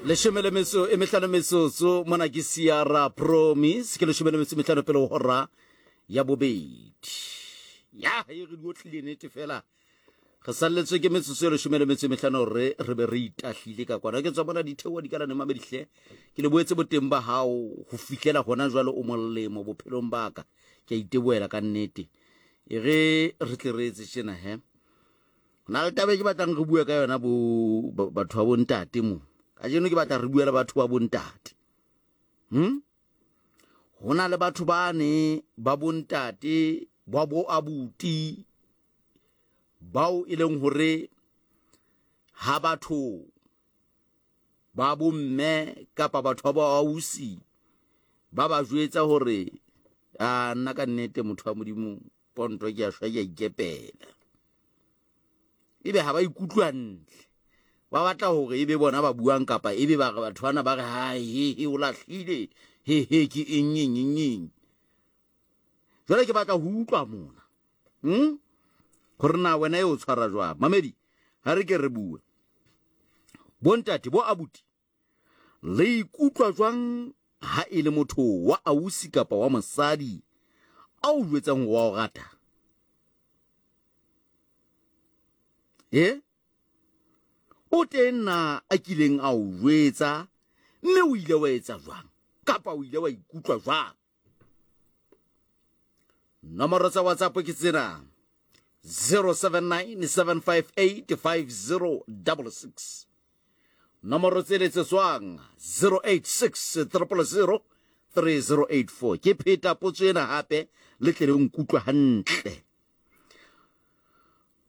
Leshome le metso e mehlano metsotso mona ke Sierra Promise ke leshome le metso e mehlano pele ho hora ya bobedi. Ya e re di otlile nete fela. Re salletswe ke metsotso e leshome le metso e mehlano re re be re itahlile ka kwana. Ke tswa bona ditheoha di kalane mamedihle. Ke le boetse boteng ba hao ho fihlela hona jwale o molemo bophelong ba ka. Ke a itebohela ka nnete. E re re tle re etse tjena he. Na le taba e ke batlang re bue ka yona bo batho ba bontate mo. Kajeno ke batla re bue le batho ba bontate. Hm? Ho na le batho bane ba bontate ba bo abuti bao e leng hore ha batho ba bomme kapa batho ba boausi ba ba jwetsa hore a nna ka nnete motho wa modimo ponto ke a shwa ke a ikepela ebe ha ba ikutlwe hantle ba batla hore ebe bona ba buang kapa ebe ba re batho bana ba re ha he he o lahlile he he ke eng eng eng eng jwale ke batla ho utlwa mona hmm? gore na wena e o tshwara jwang mamedi ha re ke re bue bontate bo abuti Le ikutlwa jwang ha e le motho wa ausi kapa wa mosadi a o jwetsang hore wa o rata? E? O teng na a kileng a o jwetsa mme o ile wa etsa jwang kapa o ile wa ikutlwa jwang? Nomoro tsa WhatsApp ke tsena 079 758 5066. Nomoro tse letsetswang 086 000 3084. Ke pheta potso ena hape le tle le nkutlwe hantle.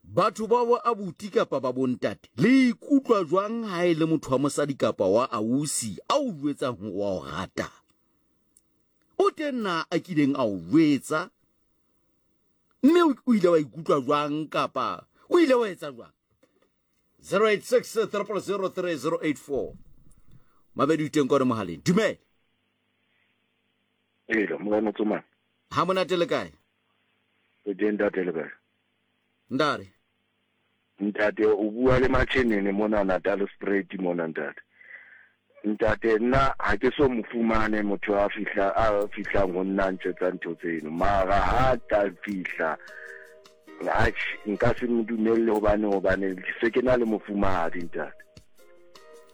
Batho ba bo abuti kapa ba bontate le ikutlwa jwang ha e le motho wa mosadi kapa wa ausi a o jwetsang hore wa o rata? O teng na a kileng a o jwetsa mme o ile wa ikutlwa jwang kapa o ile wa etsa jwang? 086 000 3084. Mabedi o teng kone mohaleng. Dumela. Ee, morena Tsomane. Ha monate le kae? Re teng ntate le kae? Ndare. Ntate o bua le Machenene mona Natal Spruit mona ntate. Ntate nna ha ke so mo fumane motho a fihla a fihlang ho nna ntjwetsa ntho tseno mara ha ta fihla atjhe nka se mo dumelle hobane hobane se ke na le mofumahadi ntate.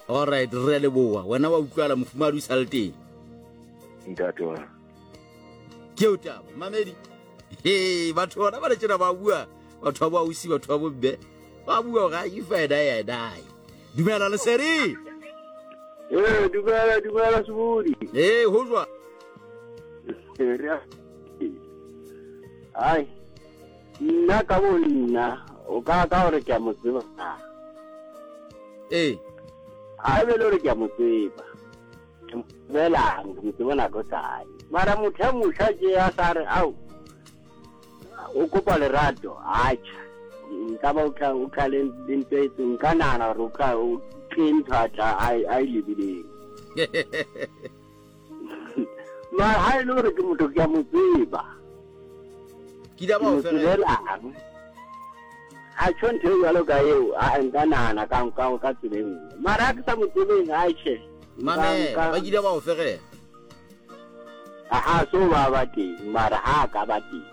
All right re a leboha wena wa utlwala mofumahadi o sa le teng. Ntate wa. Ke o taba mamedi. He batho bona ba le tjena ba bua batho ba bo ausi batho ba bomme ba bua gore if I die I die. Dumela Lesedi. Ee, dumela dumela Sebodi. Ee, ho jwa. Ai, nna ka bo nna o ka ka gore ke a mo tseba. Ee. A be le gore ke a mo tseba. Ke mo tsebelang, ke mo tseba nako kae. Mara motho ya mosha ke ya sa re ao o kopa lerato atjha nka ba o tla o tla le le ntho e itseng nka nahana gore o tla o ke ntho a tla a e- a e lebileng mara ha e le gore ke motho ke a mo tseba Ke ile ke ba mo o fela. tsebelang a tjho ntho e jwalo ka eo a nka nahana ka ka ka tsela e nngwe mara ha ke sa mo tsebeng atjhe Mamela, ba kile ba o fegela. Aha, so ba ba teng, mara ha ka ba teng.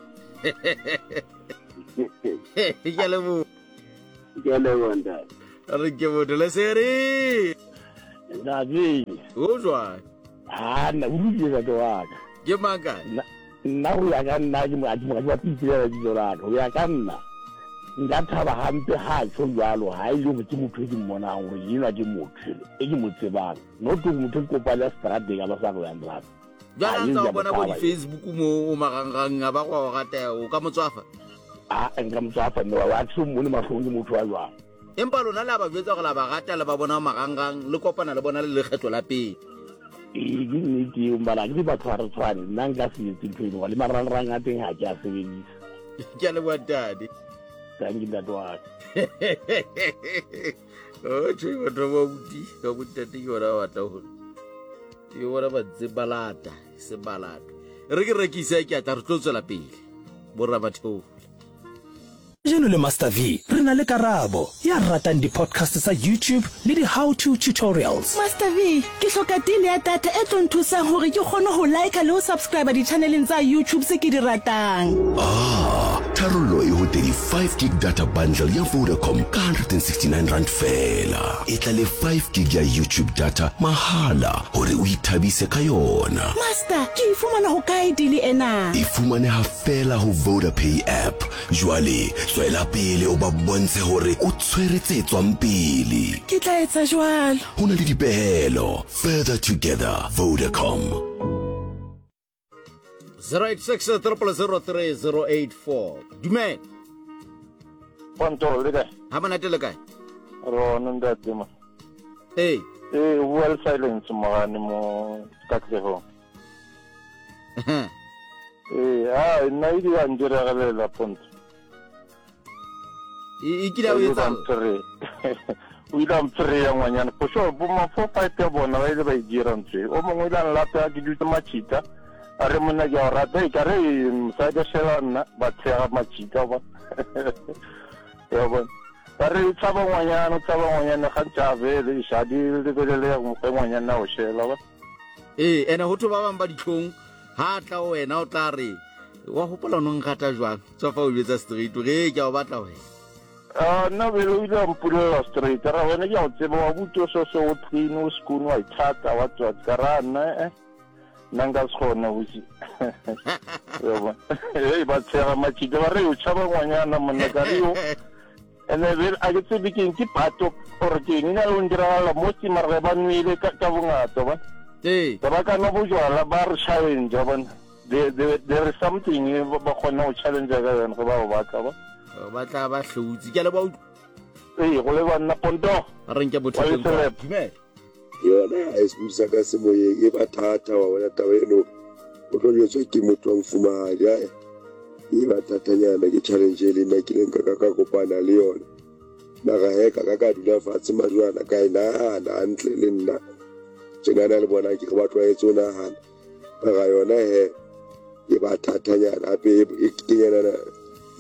Ke a leboha. Ke a leboha ntate. Re ke motho leseri. Ntate. O jwang? Ha nna o lokile ntate wa ka. Ke mang kae? Nna ho ya ka nna ke mo ke mo ke ipolela lebitso la ka. Ho ya ka nna nka thaba hampe ha tjho jwalo ha e le hore ke motho e ke mmonang hore enwa ke motho e ke mo tsebang. Not hore motho e ke kopane ya seterateng a ba sa re yang rata. Jwale a ntse o bona bo di-Facebook mo o marangrang a ba go o rata o ka mo tswafa? A nka mo tswafa mme wa ke so mmone mahlong ke motho wa jwang. Empa lona le a ba jwetsa gore la ba rata le ba bona marangrang le kopana le bona le lekgetlo la pele. Ee ke nnete eo mbala ke batho ga re tshwane nna nka se etse ntho eno le marangrang a teng ga ke a sebedisa. Ke a leboha ntate. Thank you ntate wa ka. Otjhe batho ba buti ba bontate ke bona ba batla hore ke bona ba ntse ba lata se ba lata. Re ke rekise ke a tla re tlo tswela pele. Borra batheola. Kajeno le Master V re na le Karabo, ya ratang di-podcast tsa YouTube le di-how to tutorials. Master V, ke hloka deal ya data e tlo nthusang hore ke kgone ho liker le ho subscriber di-channeleng tsa YouTube tse ke di ratang. Ah, tharollo e ho 35 gig data bundle ya Vodacom ka R169 feela. E tla le 5 gig ya YouTube data mahala hore o ithabise ka yona. Master, ke e fumana hokae deal ena? E fumaneha feela ho Vodapay app. Jwale tswela pele o ba bontshe hore o tshwere tse tswang pele. Ke tla etsa jwalo. Ho na le dipehelo. Further together, Vodacom. 086 0003084 dumela. Ponto le kae? Ha monate, le kae? Rona ntate ma. Ee. Ee, o bua le Silence Mogane mo Katlehong. Ee, a nna e di a ntiregelela Ponto. E kile ya o etsang? O ile a mphereya ngwanyana for sure. Bo ma 4 5 ya bona ba ile ba e dira ntho e. O mongwe o ile a nlata ke dutse matšhita, a re monna ke a o rata, e ka re mosadi a shela nna, ba tshega matšhita ba. Ya bona. Ba re o tshaba ngwanyana, o tshaba ngwanyana gantši a bele iša di lebelele ge ngwanyana a o shela ba. Ee, ene go thwe ba bangwe ba ditlhong, ha a tla ho wena o tla re wa gopola o no nrata jwang, tswa fa o jwetsa straight o re ee ke a o batla wena. Ah, nna bele o ile a mpolelela straight, ra wena ke a o tseba wa buti o so so o clean o skoon wa ithata wa tswa ka ra nna eh nna nka se kgone ausi. Ya bona. Hey, ba tshega matšhika ba re o tšhaba ngwanyana monna ka re yo. Ene bele a ke tsebe keng ke pato or keng e na le go ntiragalela mo ke mara ge ba nwele ka ka bongata ba. Ee. Ba ka nwa bojwala ba re challenge bona. There, there, there is something e ba ba kgona go challenge ka yone ge ba o batla ba. Ba tla ba hlotse. Ke a leboha utlwa. Ee, go le banna Ponto. A re nke Wa bothateng kwa. leselep. Dumela. Yona ha e se ka semoyeng e ba thata wa bona taba eno o tlo jwetswa ke motho wa mofumahadi ae e ba thatanyana ke challenge e le nna ke leng ka ka ka kopana le yona mara he ka ka ka dula fatshe majwana ka e nahana hantle le nna tjenana le bona ke re ba tlwaetse ho nahana mara yona he e ba thatanyana hape e kenyana le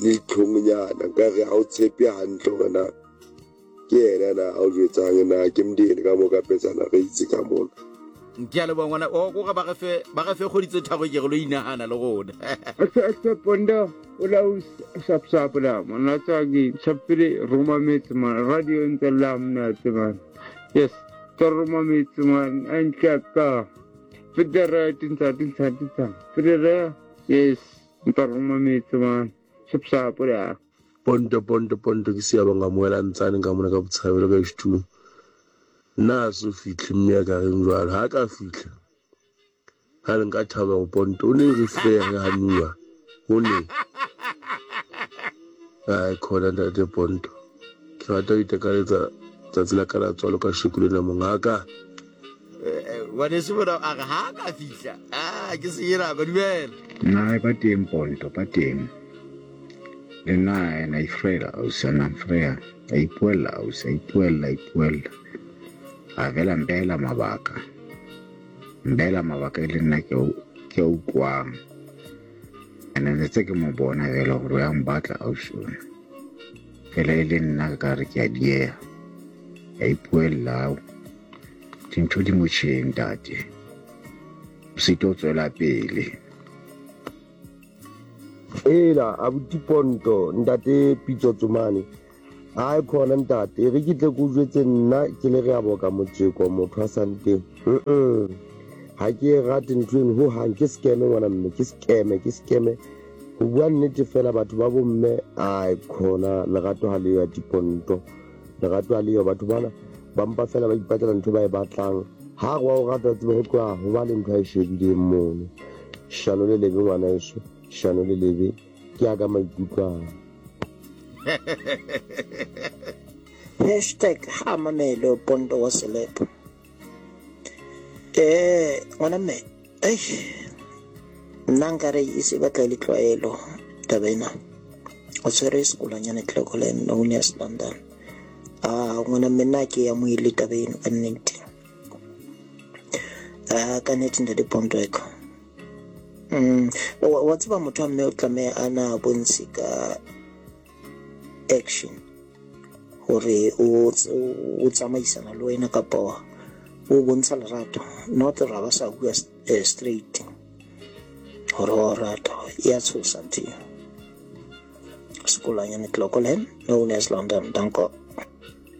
ditlhongnyana nkare ha o tshepe hantle hore na Ke yena na a o jwetsang na ke mdeni ka mo ka petsana re itse ka mona. Ke a leboha ngwana o ko ba re fe ba re fe kgwedi tse tharo ke re lo inahana le rona. Ase ase ponda o la o sap sap la mona tsa ke chapile roma metse man radio ntse la mna tse man yes tsa roma metse man a ntla ka federa tintsa tintsa tintsa federa yes ntsa roma metse man sap sap la. Ponto, ponto, ponto, ke Siyabonga Moela Ntsane ka mona ka Botshabelo ka H2. Nna a so fihle mme ya ka reng jwalo. Ha ka fihla. Ha le nka thaba go ponto o ne re file ya re hanuwa. O ne. Ai khona ntate Ponto. Ke rata ho itakaletsa tsatsi la ka la tswalo ka sheko lena mongaka. Ngwaneso bona a re ha ka fihla. Ah, ke se nako dumela. Nna ba teng Ponto, ba teng. Le nna ena ifrela ausi ana mfreya a ipuella ausi a ipuella a ipuella a vela mbela mabaka mbela mabaka e le nna ke ke a utlwang ene ne tse ke mo bona fela gore o ya mbatla ausi ona fela e le nna ka re ke a dieha a ipuella ao dintho di motjheng ntate o se tlo tswela pele. Ela abuti Ponto ntate Pitso Tsomane hae khona ntate e re ke tle ke o jwetse nna ke le re a boka motjeko motho a santeng ha ke e rate ntho eno ho hang ke scam ngwana mme ke scam ke scam ho bua nnete fela batho ba bomme ai khona lerato ha leyo ati Ponto lerato ha leyo batho bana ba mpa fela ba ipatlela ntho ba e batlang Ha re wa o rata tsebe ho tloha ho ba le ntho a e shebileng mono. Shano le lebe ngwanaeso, shano le lebe ke ya ka maikutlo a. Hashtag ha mamele Pondo wa Selepo. Eh, ngwana mme, eish, nna nkare e se batla e le tlwaelo taba ena. O tshwere sekolanyana Clocolan known as London. Ah, ngwana mme nna ke amohele taba eno ka nnete. Ah, ka nnete ntate Ponto eko. Mm, wa tseba motho wa mme o tlameha a na bontshe ka action hore o o tsamaisana le wena kapa o bontsha lerato not ra ba sa bua eh, straight hore wa o rata e a tshosa ntho eo. Sekolanyane Clocolan known as London danko.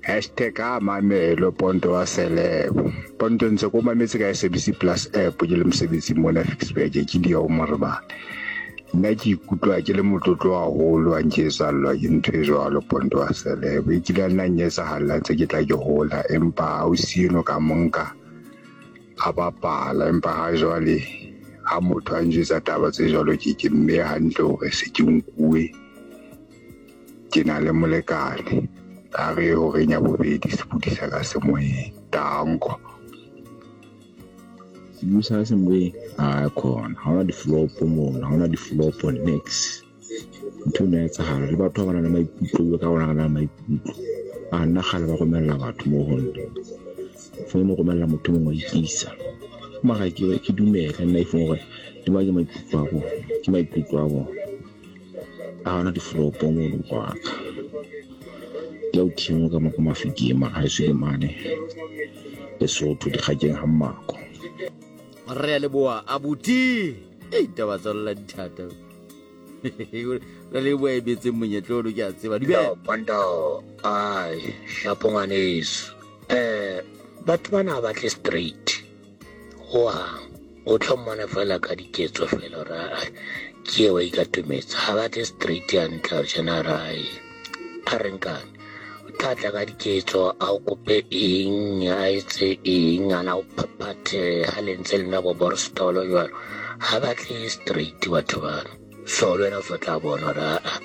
Hashtag a mamelo Ponto wa Selebo. Ponto ntse ko mametse ka SABC Plus app ke le mosebetsing mona Ficksburg ke di ya o morebane. Nna ke ikutlwa ke le motlotlo haholo ha nke etsahallwa ke ntho e jwalo Ponto wa Selebo. E kile ya nna nyetsahalla ntse ke tla ke hola empa ausi eno ka monka a bapala empa ha jwale ha motho a njwetsa taba tse jwalo ke ke mme hantle hore se ke nkuwe ke na le molekane a re horeng ya bobedi sepodisa ka semoyeng tanko Sepodisa ka semoyeng a khona ha hona di-flop mona ha hona di-flop next ntho eno ya etsahala le batho ba ba nang le maikutlo ka rona re na le maikutlo a nna kgale ba romella batho mo ho nna founu romella motho mongwe wa ikisa mara ke dumele nna e fong gore di ba ke maikutlo a bona ke maikutlo a bona a hona difolopo mo wa ka ke o thimo ka mo ko mafikeng mara ha eso ke mane Lesotho dikgakeng ga mmako re a leboa abuti ei taba tsa lola dithata re leboa e betseng monyetla ono ke a tseba dumela Pondo ai shapo ngwaneso eh batho bana ba batle straight hohang o tlo mmona fela ka diketso fela gore aa ke eo ikatometsa ga batle straight hantle gore jena re ai a re nkane o tla tla ka diketso a o kope eng a etse eng a na o phaphathe ga le ntse le nwa bo borstolo jalo ga batle straight batho bano so le wena o so tla bona gore aa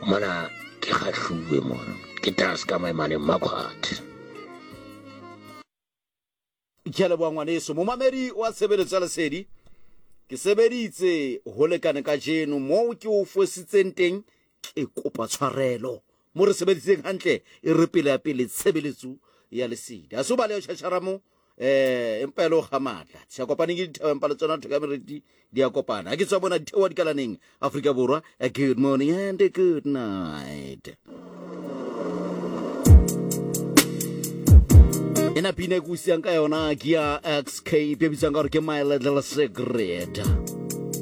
mona ke kgatlhuwe mona ke tas ka maemane mmakgwathe. Ke a leboha ngwaneso. Momamedi wa tshebeletso ya lesedi, ke sebeditse ho lekane kajeno moo ke o fositseng teng ke kopa tshwarelo. Mo re sebeditseng hantle e re pele ya pele tshebeletso ya lesedi. Ha se o baleha tjhatjhara mo eh empa e le ho kga matla. Tsha kopaneng ke dithaba empa le tsona thoka meriti di a kopana. Ha ke tswa bona ditheoha dikalaneng Afrika Borwa. Good morning and good night. Ena pina e ke o siang ka yona ke ya XK e bitswang ka gore ke My Little Secret.